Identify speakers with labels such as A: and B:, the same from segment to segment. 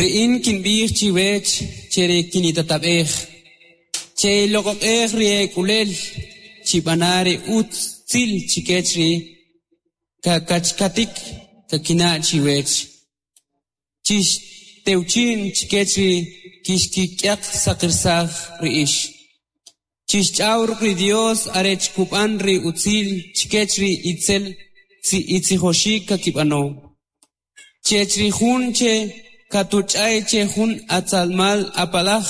A: Ri in kinb'ij chiwech che ri kinitatab'ej, che'iloq'oq'ej ri ek'ulel, chib'ana' ri utzil chikech ri kakachkatik kakina' chiwech, chixtewchi'n chikech ri kixkik'yaq saqirsaj ri ix. Chixch'aw ruk' ri Dios arech kub'an ri utzil chikech ri itzel itzijoxik kakib'ano. Chech ri jun che katuch'ay che jun atzalmal apalaj,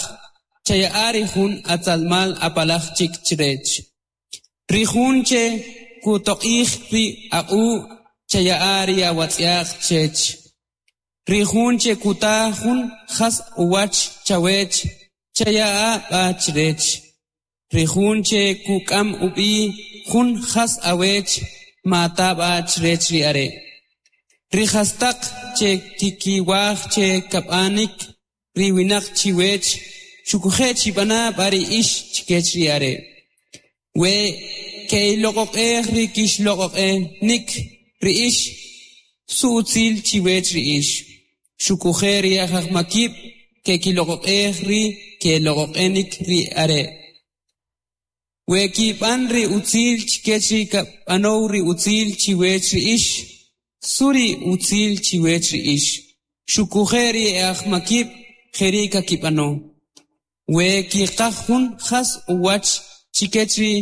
A: chaya'a ri jun atzalmal apalaj chik chrech. Ri jun che kutoq'ij ri aq'u', chaya'a ri awatz'yaq chech. Ri jun che kuta jun jas uwach chawech, chaya'a b'a chrech. Ri jun che kuk'am ub'i jun jas awech, mata b'a chrech ri are'. Ri jastaq che kikiwaj che kab'anik ri winaq chiwech, xuquje' chib'ana' b'a ri ix chkech ri are'. We ke'iloq'oq'ej ri kixloq'oq'enik ri ix, su utzil chiwech ri ix. Xuquje' ri ajmakib' kekiloq'oq'ej ri keloq'oq'enik ri are'. We kib'an ri utzil chkech ri kab'anow ri utzil chiwech ri ix, su ri utzil chiwech ri ix. Xuquje' ri ajmakib' jeri' kakib'ano. We kiqaj jun jas uwach chikech ri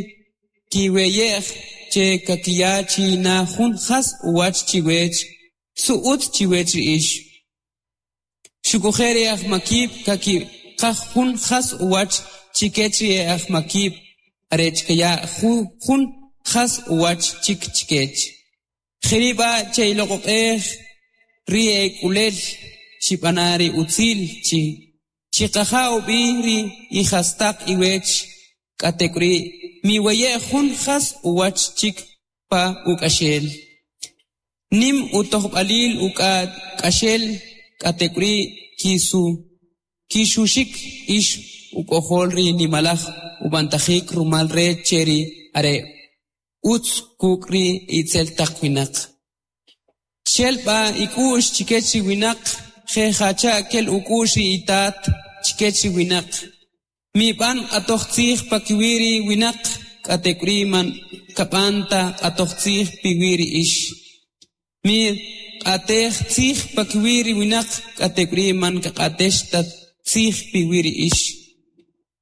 A: kiweye'j che kakiya chi na jun jas uwach chiwech, su utz chiwech ri ix. Xuquje' ri ajmakib' kakiqaj jun jas uwach chikech ri ajmakib' arech kaya jun jas uwach chik chkech. Jeri' b'a' che'iloq'oq'ej ri ek'ulel, chib'ana' ri utzil chi chiqaja' ub'i ri ijastaq iwech, k'atek'uri' miweye' jun jas uwach chik pa uk'axel. Nim utojb'alil uk'axel, k'atek'uri' kisu kixuxik ix uk'ojol ri nimalaj ub'antajik rumal rech che ri are' utz kuk' ri itzel taq winaq. Chel b'a ik'u'x chikech ri winaq, je' jacha' kel uk'u'x ri itat chikech ri winaq. Mib'an q'atoj tzij pakiwi' ri winaq, k'atek'uri' man kab'an ta q'atoj tzij piwi' ri ix. Miq'atej tzij pakiwi' ri winaq, k'atek'uri' man kaq'atex ta tzij piwi' ri ix.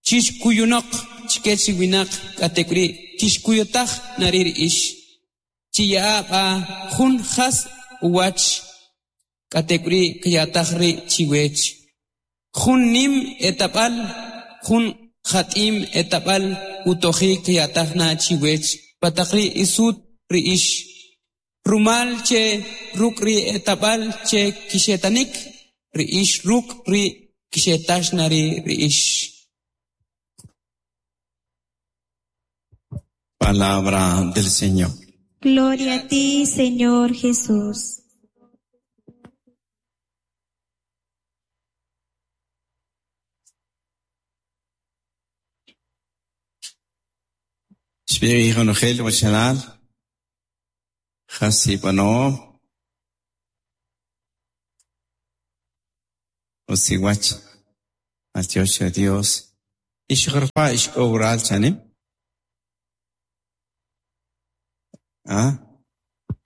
A: Chixkuyunoq chikech ri winaq, k'atek'uri' kixkuyutaj na ri' ri ix. Chiya'a b'a jun jas uwach, k'atek'uri' kaya'taj ri' chiwech. Jun nim etab'al, jun jat'im etab'al utojik kaya'taj na chiwech pa taq ri isut ri ix. Rumal che ruk' ri etab'al che kixetanik, ri ix ruk' ri kixetax na ri ri ix.
B: Palabra del Señor.
C: Gloria a ti, Señor Jesús.
B: Xb'ij ronojel wachalal jas ib'anom utz iwach maltyox che Dios ix joropa' ix k'o waral chanim ah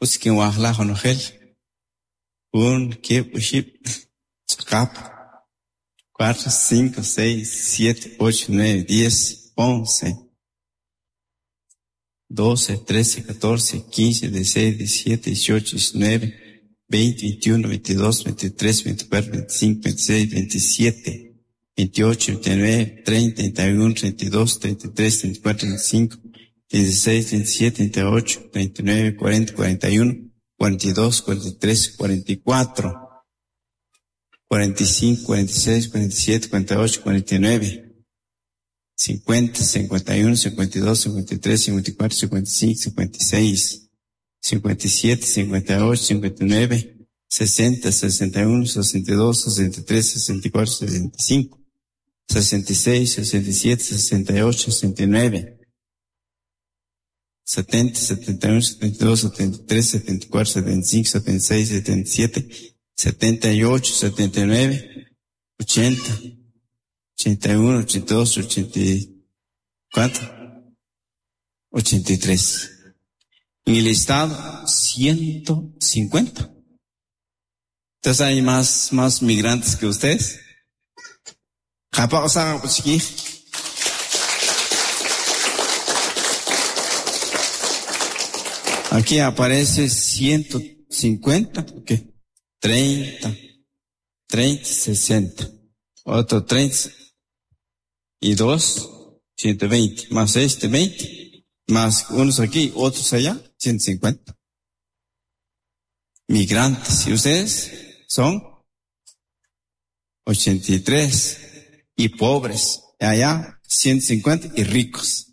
B: utz kinwajlaj ronojel jun, keb', oxib', ch'aqap cuatro, cinco, seis, siete, ocho, nueve, diez, once, 12, 13, 14, 15, 16, 17, 18, 19, 20, 21, 22, 23, 24, 25, 26, 27, 28, 29, 30, 31, 32, 33, 34, 35, 36, 37, 38, 39, 40, 41, 42, 43, 44, 45, 46, 47, 48, 49, 50, 51, 52, 53, 54, 55, 56, 57, 58, 59, 60, 61, 62, 63, 64, 65, 66, 67, 68, 69, 70, 71, 72, 73, 74, 75, 76, 77, 78, 79, 80, 81, 82, 80, ¿cuánto? 83. En el estado, 150. Entonces hay más migrantes que ustedes. Aquí aparece 150, ¿qué? 30, 30, 60. Otro 30 y 2, 120. Más este, 20. Más unos aquí, otros allá, 150. Migrantes. ¿Y ustedes? Son 83 y pobres. Allá, 150 y ricos.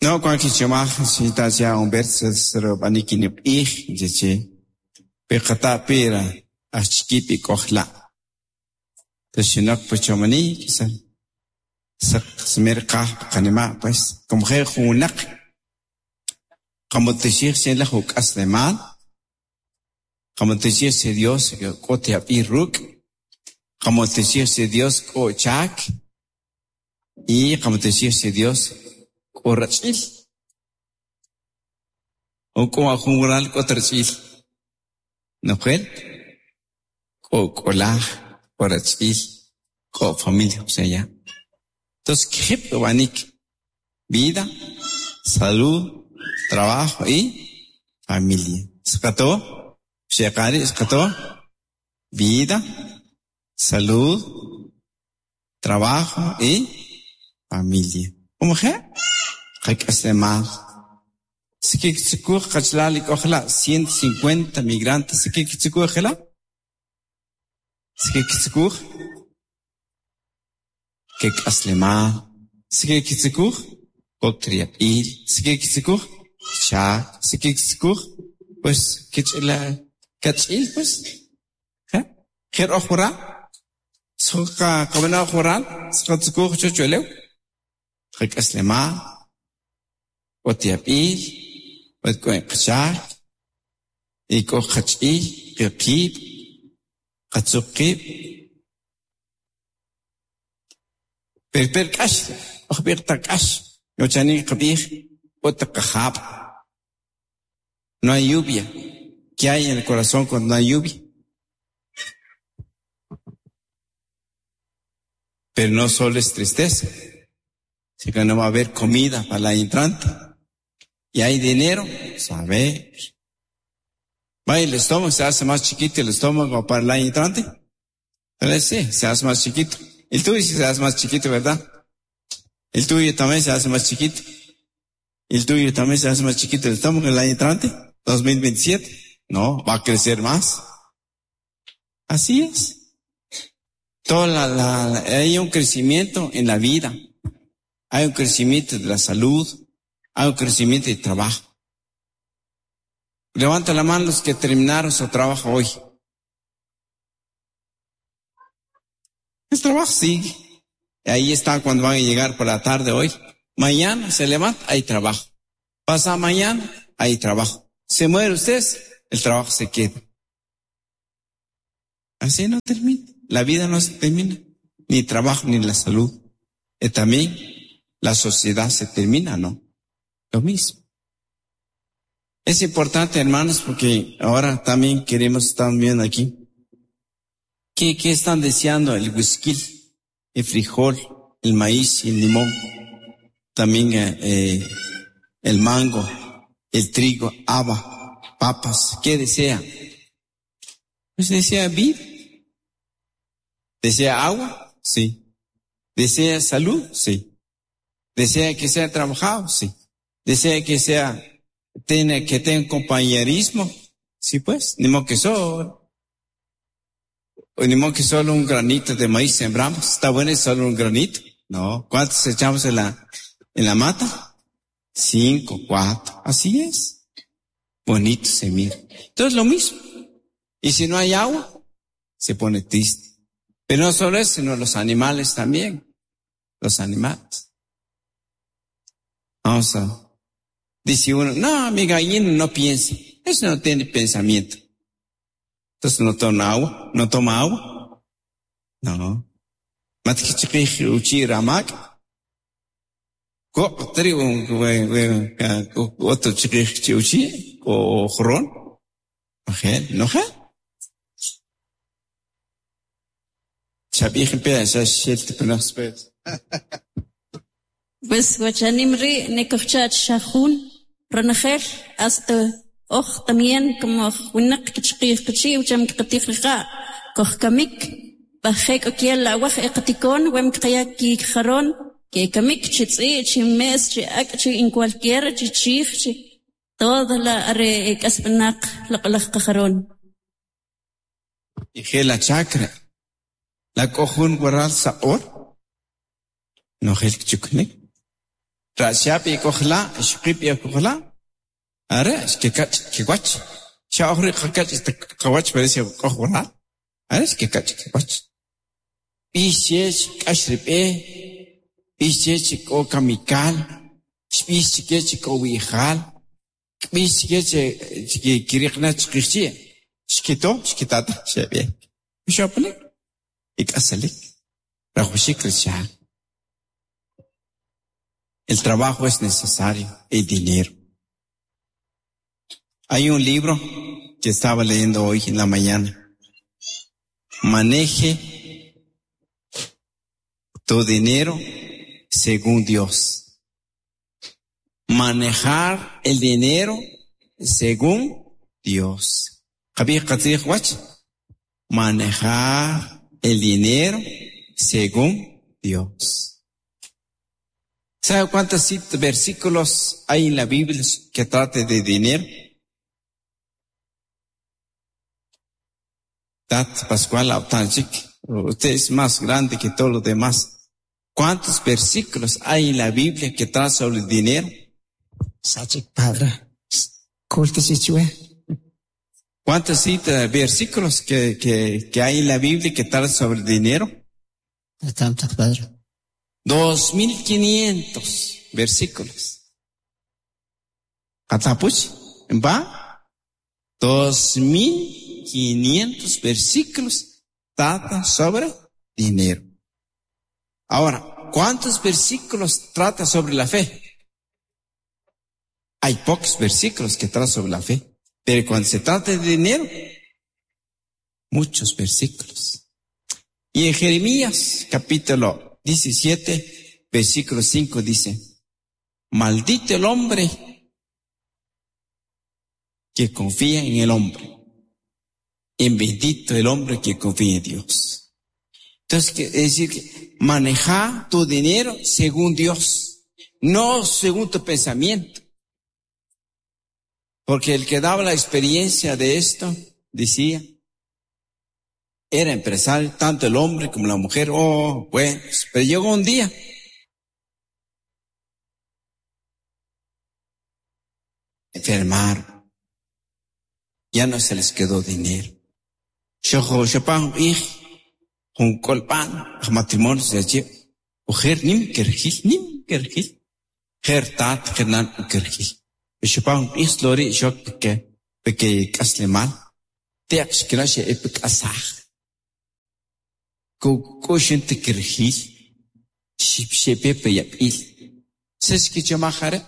B: No, cuando si ta un verso pira kojla. Quizá smer pues como junak como te la mal como te Dios ruk como te Dios ko chak y como te Dios ko rachil o ko ajungural ko trachil no fue ko kola ko rachil ko familia o sea ya. Entonces ¿qué banik? Vida, salud, trabajo y familia. ¿Escató? Shekari, ¿escató? Vida, salud, trabajo y familia. ¿Cómo que? Mal. 150 migrantes. Pues pues. No hay lluvia. ¿Qué hay en el corazón cuando no hay lluvia? Pero no solo es tristeza, sino que no va a haber comida para el año entrante. Y hay dinero, saber. Va el estómago, se hace más chiquito el estómago para el año entrante. Entonces sí, se hace más chiquito. El tuyo se hace más chiquito, ¿verdad? El tuyo también se hace más chiquito. El tuyo también se hace más chiquito el estómago el año entrante, 2027. No, va a crecer más. Así es. Toda hay un crecimiento en la vida. Hay un crecimiento de la salud. Hay un crecimiento de trabajo. Levanta la mano los que terminaron su trabajo hoy. El trabajo sigue. Ahí está cuando van a llegar por la tarde hoy. Mañana se levanta, hay trabajo. Pasa mañana, hay trabajo. Se muere usted, el trabajo se queda. Así no termina. La vida no se termina. Ni trabajo, ni la salud. Y también la sociedad se termina, ¿no? Lo mismo. Es importante, hermanos, porque ahora también queremos estar viendo aquí. ¿Qué están deseando? El whisky, el frijol, el maíz y el limón. También el mango, el trigo, haba, papas. ¿Qué desea? Pues desea vida. ¿Desea agua? Sí. ¿Desea salud? Sí. ¿Desea que sea trabajado? Sí. ¿Desea que sea, que tenga compañerismo? Sí, pues, ni modo que solo. Ni modo que solo un granito de maíz sembramos. Está bueno, es solo un granito. No. ¿Cuántos echamos en la mata? 5, 4. Así es. Bonito se mira. Entonces lo mismo. Y si no hay agua, se pone triste. Pero no solo eso, sino los animales también. Los animales. Vamos a... Dice uno, no, mi gallina no piensa. Eso no tiene pensamiento. Entonces no toma agua, no toma agua. No. Mat kichiqij uchi ramak. Ko tri otro chiqij chi uchi o joron. No je. Chabij pe sa shel te
D: Pues wachanim ri nekojchach shajun ronojel hasta oj también como winaq kichqij qichi ucham qatij riqa kojkamik bajek okiel awaj eqatikon wem qaya ki jaron que kamik chi tz'i chi mes chi ak chi en cualquiera chi chij chi toda la are k'asb'anaq loq'laj qajaron.
B: Y la chacra. La k'ojun waral saq'or. No gel chuknik. Rashap y kojla, shqip y kojla. Are, que kach, que wach. Sha ojri kach este kawach parece koj waral. Are, que kach, que wach. Bishech kashripe. Bishech ko kamikal. Bishech ko wijal. Bishech que kirikna chqichi. Shkito, shkitata, shebe. Shopnik. Ikasalik. Rajushik risha. El trabajo es necesario, el dinero. Hay un libro que estaba leyendo hoy en la mañana. Maneje tu dinero según Dios. Manejar el dinero según Dios. Manejar el dinero según Dios. ¿Sabe cuántos versículos hay en la Biblia que trate de dinero? Tat Pascual Autanchik, usted es más grande que todos los demás. ¿Cuántos versículos hay en la Biblia que tratan sobre el dinero?
E: Sachik padre.
B: ¿Cuántos versículos que hay en la Biblia que tratan sobre el dinero?
E: Tantos, padre.
B: 2500 versículos. Catapuch, ¿va? 2500 versículos trata sobre dinero. Ahora, ¿cuántos versículos trata sobre la fe? Hay pocos versículos que tratan sobre la fe, pero cuando se trata de dinero, muchos versículos. Y en Jeremías capítulo 17, versículo 5 dice, maldito el hombre que confía en el hombre, y bendito el hombre que confía en Dios. Entonces, es decir, que maneja tu dinero según Dios, no según tu pensamiento. Porque el que daba la experiencia de esto, decía, era empresario, tanto el hombre como la mujer. Oh, bueno, pero llegó un día. Enfermaron. Ya no se les quedó dinero. Matrimonio se mujer nim kergil, nim kergil. Her tat hernan kergil. Shopan ich lori shok ke peke kaslemal. Teak shkirashe epik asaj. Ko te kergil. Ship shepepe yapil. Ses ki chamajare.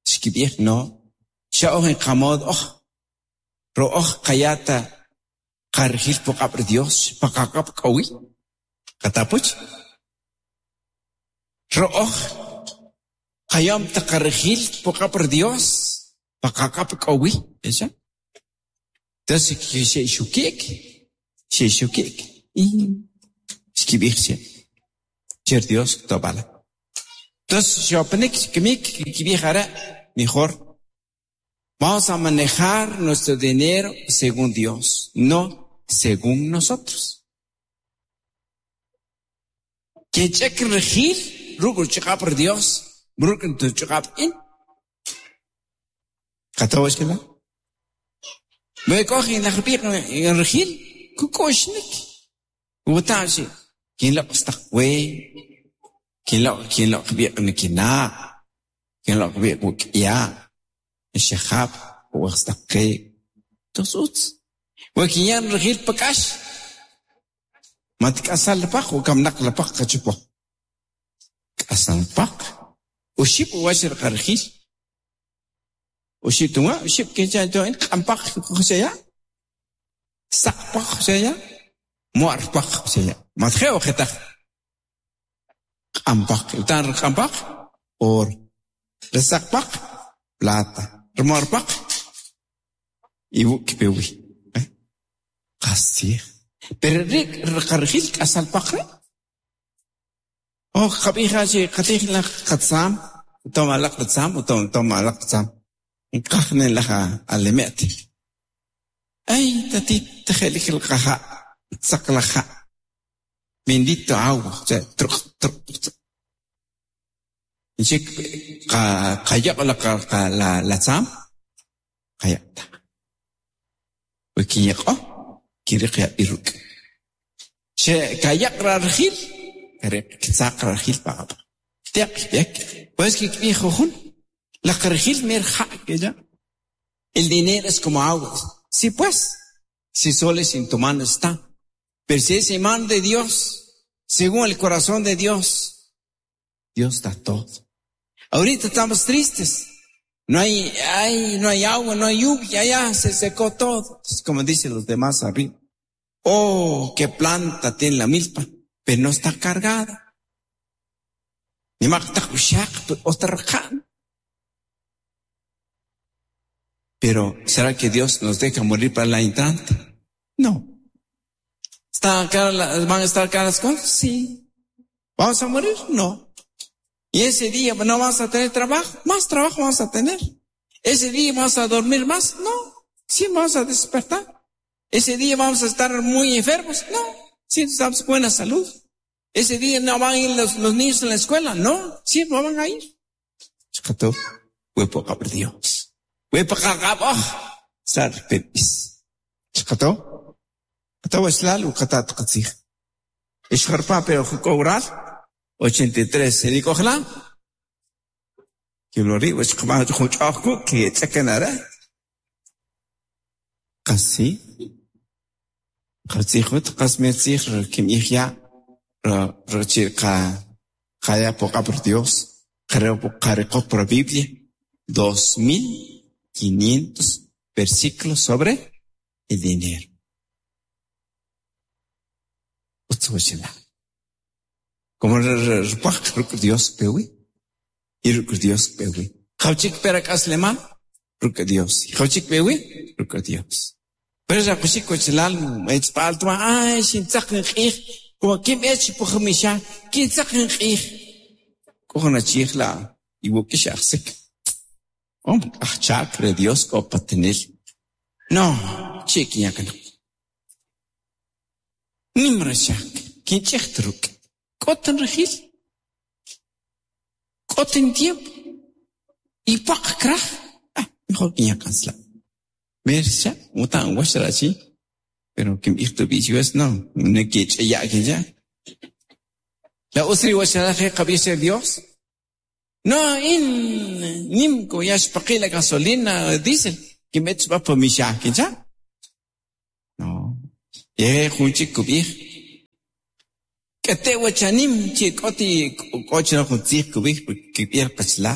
B: Shkibir no. Sha en kamod oh. Ro oh kayata kargil pokap Dios. Pakakap kawi. Katapuch. Ro oh. Kayam takargil pokap Dios. Pakakap kawi. Esa. Entonces, she shukik. She shukik. Y shkibir Cher Dios tobala. Entonces, shopenik kimik kibijara mejor. Vamos a manejar nuestro dinero según Dios, no según nosotros. Que check regir, rugur por Dios, rugur tu chekap in. Katawa shkila? Me coge en la regir, kukoshnik. Utashi, quien lo está we, quien lo kina, quien lo ya, shahab, wastaqi. Tos utz. We kinya nrijil pa k'ax, mat k'asal la paq o kamnaq la paq qachupo. K'asal paq, uxib' uwach ri qarijil. Uxib' tunwa, uxib' kincha to in q'an paq qchaya. Saq paq qchaya, mu'r paq qchaya. Mat je o jetaq. Q'an paq, utan ri q'an paq, oro. Ri saq paq, plata. Ri mu'r paq, iwuk kpe wi. Qastzij. Pero ri' ri qarijil k'asal paq ri'. Oh, qab'ij chi qatij laj qatzam, toma alaq qatzam, toma alaq qatzam. Nqaj ne laj alemet. Ay, tatit je'lik el qaja', tzaq laj ja'. Bendito agua, truq, truq, truq. Nchik qayaq la la la tzam, qayaq ta. We kinyaq'o, kinriq yab'il ruk'. Che kayaq rarjil, kariq ktzaq rarjil paqap. Teq b'ek. Pues kikb'ij jujun, la qarjil mer ja' que ya. El dinero es como agua. Sí, pues, si solo es en tu mano está. Pero si es en mano de Dios, según el corazón de Dios, Dios da todo. Ahorita estamos tristes. No hay, ay, no hay agua, no hay lluvia, ya se secó todo. Es como dicen los demás arriba. Oh, qué planta tiene la milpa, pero no está cargada. Ni Pero, ¿será que Dios nos deja morir para la entrante? No. ¿Están ¿Van a estar caras las cosas? Sí. ¿Vamos a morir? No. Y ese día no vamos a tener trabajo, más trabajo vamos a tener. Ese día vamos a dormir más, no. Sí, vamos a despertar. Ese día vamos a estar muy enfermos, no. Sí, estamos con buena salud. Ese día no van a ir los, los niños en la escuela, no. Sí, no van a ir. Dios. Sar pepis. Chakato. Kataw islal u katat qatzij. Ixjarpa pero cobrar 83. ¿Se ojalá? Que lo ri wach qma juch'ajku que ch'akanara. Qasi. Qatzijut qasmetzij kim ijya ro qa qaya poca por Dios. Creo por por Biblia. 2500 versículos sobre el dinero. Como rpaq Dios pewi. Y Dios pewi. Jawchik perak aslema, ruk Dios. Jawchik pewi, ruk Dios. Pero ya kushik kochlal, etzpal tuma, ay, shin tzaq nqij, como kim ech pukhmisha, kin tzaq nqij. Kojona chijla, iwokish axsik. Om, achak re Dios ko patenil. No, chik yakan. Nimra chak, kin truk. Koten regil. Koten tiempo. Y pak kraj. Ah, mejor que ya cansla. Mercha, mutan washra chi. Pero kim ichto bichiwas no, ne que ya que ya. La usri washra je qabisha Dios. No, in nim ko ya shpaqi la gasolina diésel que met va pa misha que ya. No. Ye junchi kubij. Que te wachanim chi koti kochna juntzij kubij kibir qachla.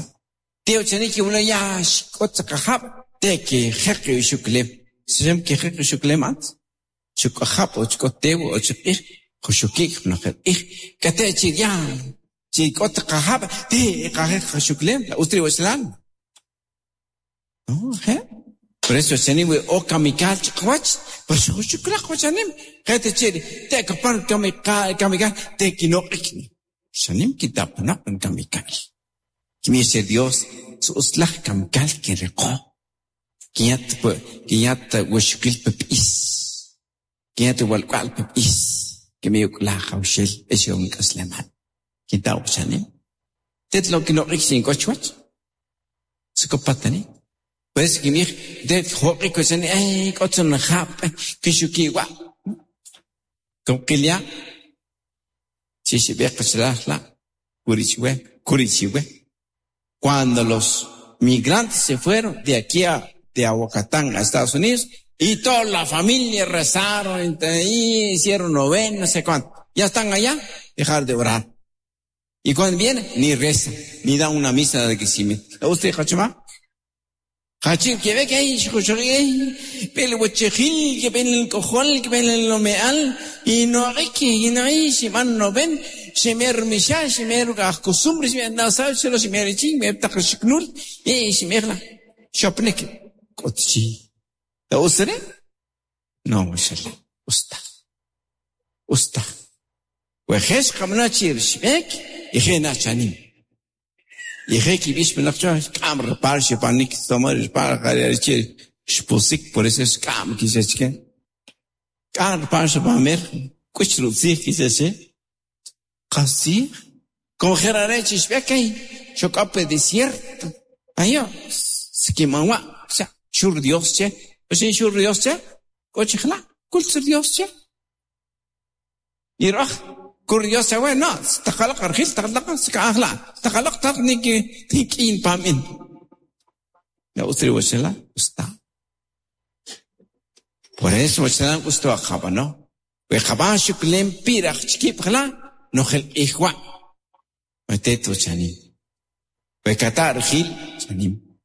B: Te wachani ki uno ya shkot qahab te ke jeqi shuklem. Shem ke jeqi shuklem at. Chukahab o chkotew o chukij xushukik no ij que te chi ya chi kot qahab te qajeq shuklem la ustri wachlan. No, he. Por eso chani we o kamikal chkwach, por eso shuklaq wachanim. Te chi te kapar kamikal kamikal te kinoqikni. Shanim kitapna kamikal. Kimi ese Dios su uslaj kamikal que reqo. Kinyat kinyat washukil pepis. Kinyat walqal pepis. Kimi yuklaj hawshel eshon kasleman. Kinta shanim. Tetlo kinoqik sin kochwach. Sukopatani. Pues kimi de hoqi kochani ay kochon khap kishuki wa. Kumqilia. Chishi la Kurichiwe, Kurichiwe. Cuando los migrantes se fueron de aquí a de Aguacatán a Estados Unidos, Y toda la familia rezaron, y hicieron novena, no sé cuánto. Ya están allá, dejar de orar. Y cuando viene, ni reza, ni da una misa de agradecimiento. ¿Usted, Hachima? Hachim, que ve que hay, pero el que ven el cojol, que ven el lomeal, y no hay que, y no hay, si van no ven, se me misha, se me costumbre, se me no sabe, se lo se me ching, me takshknul, y se me la, shopnek, kotchi. ¿La usted? No, mashallah. Usta. Usta. وخش قمنا تشير شبك يخينا شانين يخي كي بيش من لقشة كام ربار شبانيك سمر ربار غير تشير شبوسك por eso es كام كي سچكن كام ربار شبامر كوش روزي كي سچ قصي con gerare شبك شو كاب desierto ayo سكيمانوا شور Dios che وشين شور Dios che كوش خلا كل سر Dios che يروح كل Dios che no تخلق رخيل تخلق سكاخلا تخلق تخنيك تيكين بامين لا أسري وشلا أستا Por eso وشلا أستوا خبانو وخبان شكلين بيرخ شكيب خلا نخل إخوة وتيتو شاني وكتا رخيل شانيم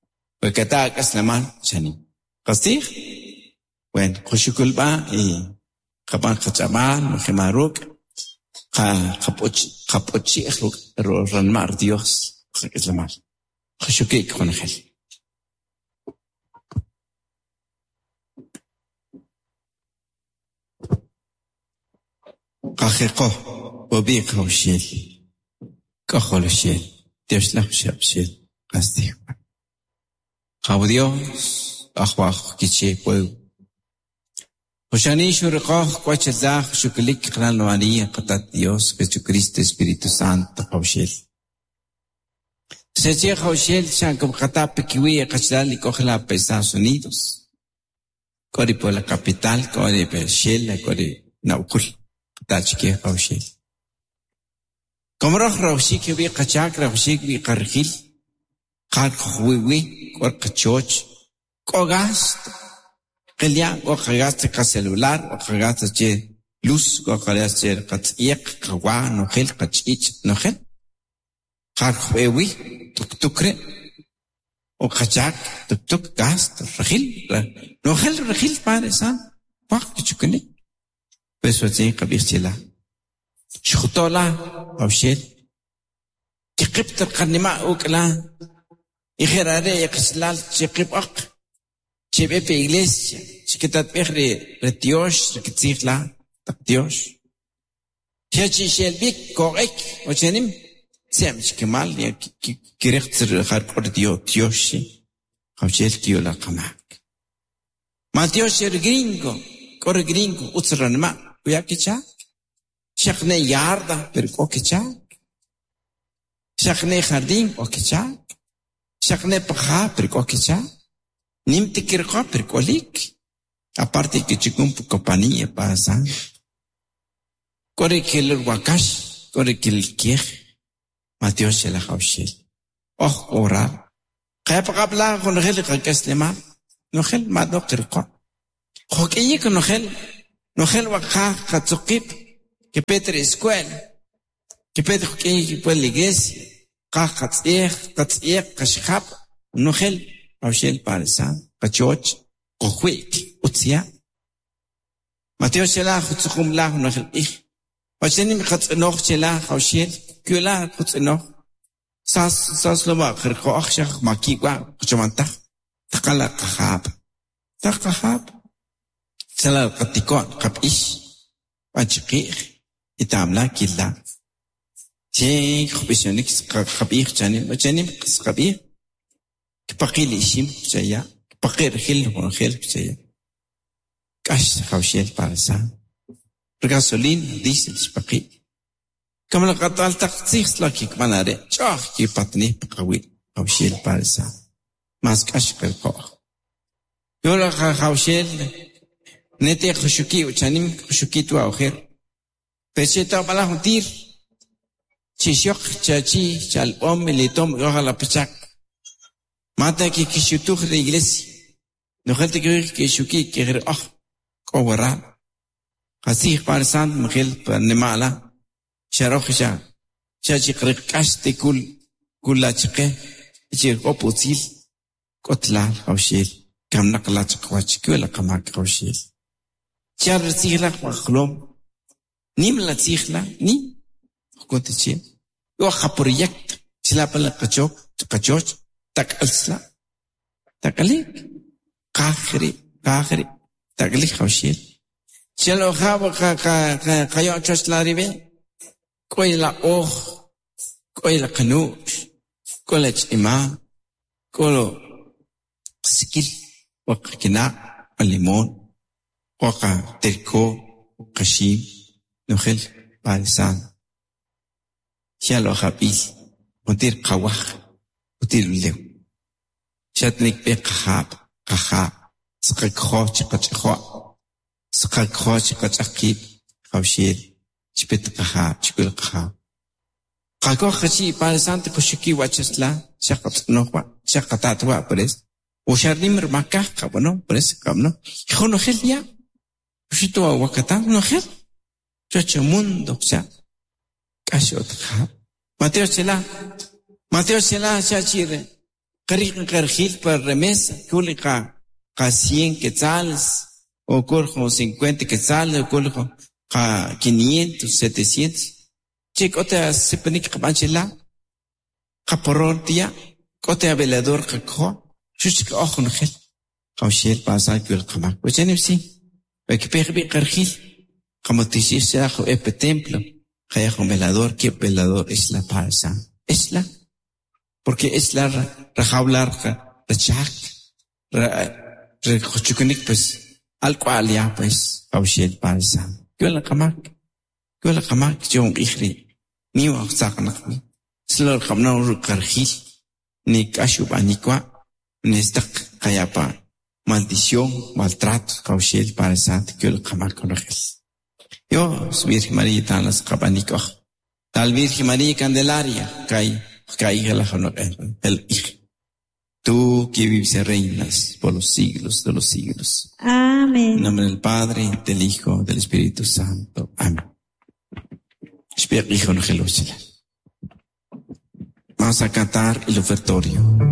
B: وكتا كسلمان شانيم قصديخ وين خشكل با إيه خبان خشبان وخماروك خبوتشي اخلوك رنمار ديوس خكسلمان خشكيك خنخل قاخيقو وبيق وشيل كخول شيل تيشلخ شابشيل قصديخ خاو Dios أخواخ كيشي بويو Oshani shurqoj kwachalaj shuklik qlanwani qatat Dios Jesucristo Espíritu Santo qawshel. Seche qawshel shankum qatap kiwi qachlal ikojla pa Estados Unidos. Kori por la capital, kori per Shela, kori naukul qatachke qawshel. Como roj rawshik wi qachak rawshik wi qarjil qar qwiwi kor qachoch kogasto Qilya o qagaste ka celular o qagaste che luz o qagaste che qatsiq qawa nojel qachich nojel qar qwewi tuk tukre o qachak tuk tuk gast rajil nojel rajil padre san paq chukuni pues watin qabix chila shkhutola awshel kiqibt qanima ukla ikhirare iqslal chiqib aq Chebepe iglesia, chiquitatpejre retiosh, rikitzijla, taqtiosh. Chechi shelbik korek, ochenim, sem chikemal, ya kirecht harkor dio tioshi, jauchel kiola kamak. Ma tiosh er gringo, kor gringo, utsranma, uyakichak. Shakne yarda, pero kokichak. Shakne jardín, okichak. Shakne paja, pero kokichak. Nim tikirqa perkolik. Aparte que chikumpu compañía pasa. Corre que el wakash, corre que el kiej. Mateo se la jaushel. Oh, orar. Kaya pa con gel kakeslema. No gel ma do kirqa. Joqueye con gel. No gel waka katsukip. Que Petre escuela. Que Petre joqueye que puede la iglesia. Ka katsiej, katsiej, kashkap. No gel. Aushel paresa, kachoch, kohuik, utsia. Mateo shela khutsukhum la nokhel ich. Wachenim khatsnoch shela aushel, kula khutsnoch. Sas sas loma khirqo akhshakh makiwa khchomantah. Taqala qahab. Taqahab. Sala qatikon qapish. Panchiqih. Itamla killa. Chink khubishonik qabih chanim, wachenim qabih. Kpaqil ishim chaya, kpaqir khil khil chaya. Kash khawshel parasa. Gasolina, diesel spaqi. Como la qatal taqtsix la kikmanare, chah ki patni pqawi khawshel parasa. Mas kash qilqo. Yola khawshel nete khushuki uchanim khushuki tu awkhir. Pecheta bala huntir. Chishoq chachi chalom litom yoha la pachak. Mata ki kishutuj la iglesia. Nojel tikik kixuki kigir oj k'o waral. Qasij Padre Santo Miguel pa nimala. Xaroj xa xa chiqriq k'ax te kul kul lachqe chirqop utzil k'otlal jawxel kamnaq lachqwach kwela qamak jawxel. Char tzijla qlom nim la tzijla ni jkuntiche yo qa proyecto chilapa la qachok qachoch tak'alsla tak'alik qajri qajri tak'alik jawxel. Chelo jab qa qa qa qayo choch la ribe k'oy la oj k'oy la qanu'x k'o la ch'ima k'o lo sikil wa qakina' wa limón wa qa terko qaxim nojel Padre Santo. Xalo jab'il juntir qawaj juntir ulew. Xatnik b'e qajab' qaja' saqakjoj chiqach'jo' saqakjoj chiqach'aqib' jawxel chipet qajab' chikul qajab'. Qakoj qachi Padre Santo kuxuki wachasla xaqatz'noj wa xaqatat wa por eso. O xarnim rmakaj qab'ano por eso qab'ano. Jonojel ya. Xutu wakatan nojel. Chocho mundo xa. K'ax otqajab'. Mateo chela. Mateo chela xa chire. Qariq qarjil par remesa kuli qa qa 100 quetzales o kurjo 50 quetzales o kurjo qa 500 700. Che k'ote sipanik qab'an chila. Qaporor tia k'ote velador qakjo xuch k'oj nojel. Jawxel pasa kyul qamak. Wachanim si. Wakpej bi qarjil. Qamotixix xajo epe templo. Jaya velador, que velador es la pasa. Es la. Porque es la rajablar rachak. Rechukunik pues al cual ya pues jawxel pasa. Kyul qamak. Kyul qamak chon ijri. Ni wa saqnaq. Slor qamna qarjil. Ni k'axub anikwa. Nestaq qayapa maldición, maltrato, jawxel Padre Santo, kyul qamak konojel. Dios, Virgen María, talas qabanik oj. Tal Virgen María Candelaria, kai, kai la el hij. Tú que vives y reinas por los siglos de los siglos.
C: Amén.
B: En nombre del Padre, del Hijo, del Espíritu Santo. Amén. Vamos a cantar el ofertorio.